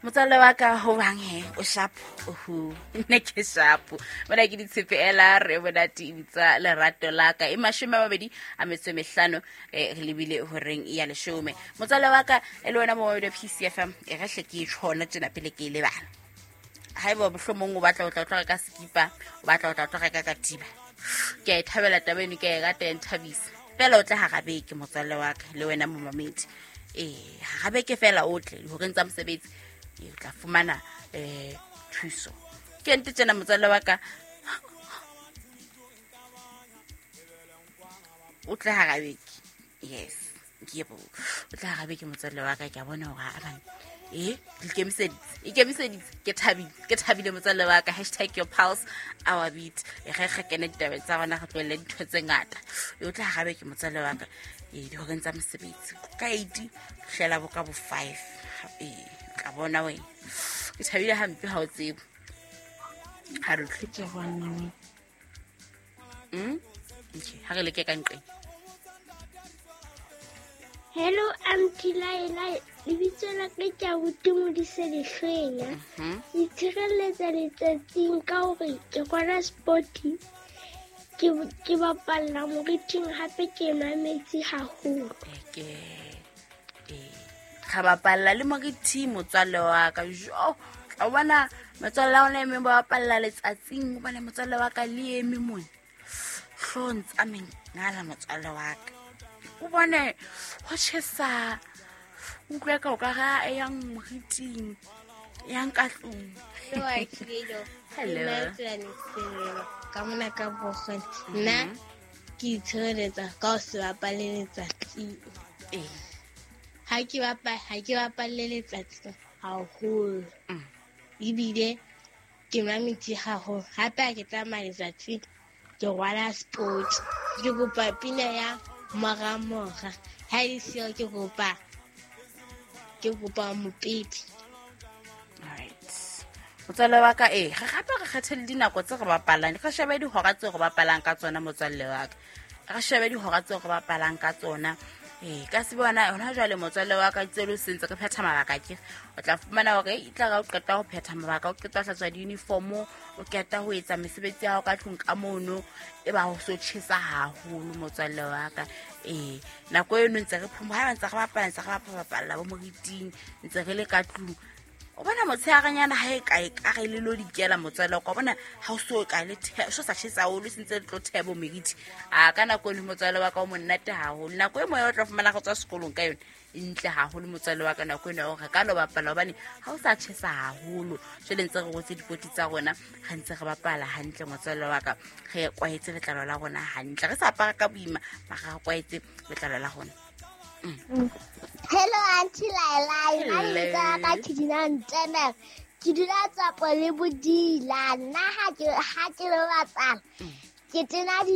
Motswalle wa ka, ho bang he o shapo oho, nna ke shapo mona ke ditshepe ela re monate e bitsa Lerato Laka. E 25, re lebile horeng ya 10. Motswalle wa ka, e le wena momamedi wa PCFM, e re hle ke e tjhona tjena pele ke e lebala. Ha eba mohlomong o batla o tla o tlo reka sekipa, o batla o tla o tlo reka katiba, ke a e thabela taba eno, ke a e rata, ya nthabisa. Fela o tle hara beke, motswalle wa ka, le wena momamedi. Ee, hara beke fela o tle dihoreng tsa mosebetsi, o tla fumana thuso. Ke nte tjena, motswalle wa ka, o tle hara beke. Yes, yebo, o tle hara beke, motswalle wa ka. Ke a bona hore a bane e ikemiseditse, ikemiseditse. Ke thabile, ke thabile, motswalle wa ka. #YourPulseOurBeat. E ge re kene ditabeng tsa rona, re tlohelle dintho tse ngata. E o tla hara beke, motswalle wa ka, ee, dihoreng tsa mosebetsi ka 8 hlela bo ka bo 5. Ee, tla bona wena, ke thabile hampe ha o tsebo ha re tlhe. Ke bona. Okay, ha re leke ka nqeng. Hello, Auntie Laila. Lebitso la ka ke abuti Modise Lehlwenya. Ke itshireletsa letsatsing ka hore ke rwala spoti, ke bapalla moriting, hape ke nwa metsi haholo. Ke ee, ga bapalla le moriting, motswalle wa ka. Jo, tla o bona motswalle wa ona emeng ba bapalla letsatsing. O bone motswalle wa ka le eme mone hlong tsa mengala, motswalle wa ka, o bone ho tjhesa, o utlwe ka o ka ga e yang moriting, e yang ka tlung. Hello. Hello. Ka mona ka bogone. Nna ke itshireletsa ka ho se bapale letsatsing. Ha ke bapalle letsatsing haholo. Ebile ke nwa metsi haholo. Hape ha ke tsamaya letsatsing, ke rwala sport. Ke kopa pina ya Moramora. Ha e le siyo, ke kopa Mopepe. Alright, motswalle wa ka, ee, re gape re kgethe le dinako tse re bapalang, re shebe dihora tseo re bapalang ka tsona. Motswalle wa ka, re shebe dihora tseo re bapalang ka tsona. Ee, ka se bona hona jwale, motswalle wa ka, tselo sentse re phetha mabaka ke o tla fumana hore e tla ra o qeta ho phetha mabaka, o qeta ho hlatswa di-uniformo, o qeta ho etsa mesebetsi ya hao ka tlung ka mono, e ba ho so tjhesa haholo, motswalle wa ka. Ee, nako eno ntse re phomo, ha ntse re bapala, ntse re bapala bo moriting, ntse re le ka tlung, o bona motshearenyana ha e kae ka re le lo dikela, motswalle wa ka. O bona ha o so ka le so sa tjhesa haholo, se ntse le tlo thebo meriti a ka nako eno, motswalle wa ka, o monate haholo. Nako e moya o tla fumana go tswa sekolong ka yone e ntle haholo, motswalle wa ka, nako eno ya hore re ka lo bapala, hobane ha o sa tjhesa haholo. Jwale ntse re rotse dipoti tsa rona, re ntse re bapala hantle, motswalle wa ka, re kwaetse letlalo la rona hantle, re sa apara ka boima, mara re kwaetse letlalo la rona. Hello, Auntie Laila. Nna Hello. lebitso la ka ke dula Ntemere. Ke dula Tsapo le Bodila. Nna ha ke lo bapala, ke tena di